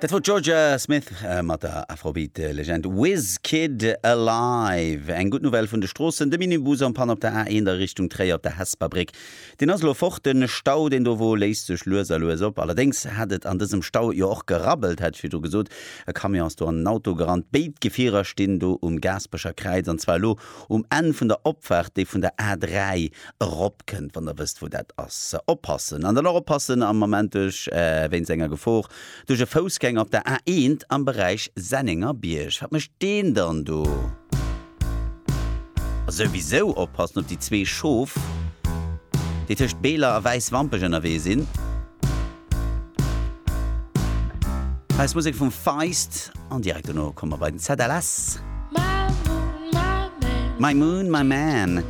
Dat wor d'Jorja Smith mat der Afrobeat-Legend Wizkid Alive. Eng gutt Nouvelle vun de Stroossen, De Minibus en panne op der A1 a Richtung Tréier op der Hesper Bréck, deen ass elo fort. De Stau, deen do wor, léist sech lues a lues op. Allerdéngs hat et an dësem Stau jo och gerabbelt, hat ech virdru gesot. E Camion ass do an en Auto gerannt. Béid Gefierer stinn do um Gaasperecher Kräiz, an zwar elo um Enn vun der Opfaart, déi vun der A3 eropkënnt, wann der wësst, wou dat ass. Oppassen! An dann och oppassen am Moment duerch, wéinst enger Gefor duerch e Foussgänger op der A1 am Beräich Sennengerbierg. Wat mécht deen dann do? A souwisou oppassen op déi zwee Schof, déi tëscht Beeler a Wäiswampech ënnerwee sinn. Hei ass Musek vum Feist an direkt dono komme mer bei den ZLS. My Moon, My Man.